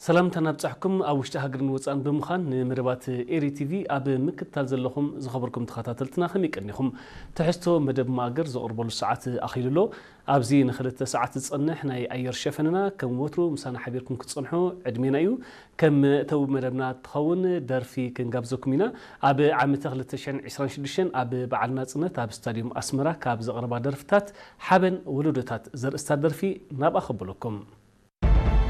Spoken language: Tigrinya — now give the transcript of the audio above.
ሰላምታና ኣብጻሕኩም። ኣብ ውሽጢ ሃገርን ወጻእን ብምዃን ንመደባት ኤሪ ቲቪ ኣብ ምክትታል ዘለኹም ዝኸበርኩም ተኸታተልትና ከመይ ቀኒኹም? ትሕዝቶ መደብ ማእገር ዘቕርበሉ ሰዓት ኣኺሉ ኣሎ። ኣብዚ ንኽልተ ሰዓት ዝጸንሕ ናይ ኣየር ሸፈንና ከም ወትሩ ምሳና ሓቢርኩም ክትጸንሑ ዕድሜና እዩ። ከም መእተዊ መደብና ትኸውን ደርፊ ክንጋብዘኩም ኢና። ኣብ ዓመተ ክልተ ሽሕን ዕስራን ሽዱሽተን ኣብ በዓል ናጽነት ኣብ ስታድዮም ኣስመራ ካብ ዘቕረባ ደርፍታት ሓበን ወለዶታት ዘርእስታ ደርፊ ናብኣ ከብለኩም።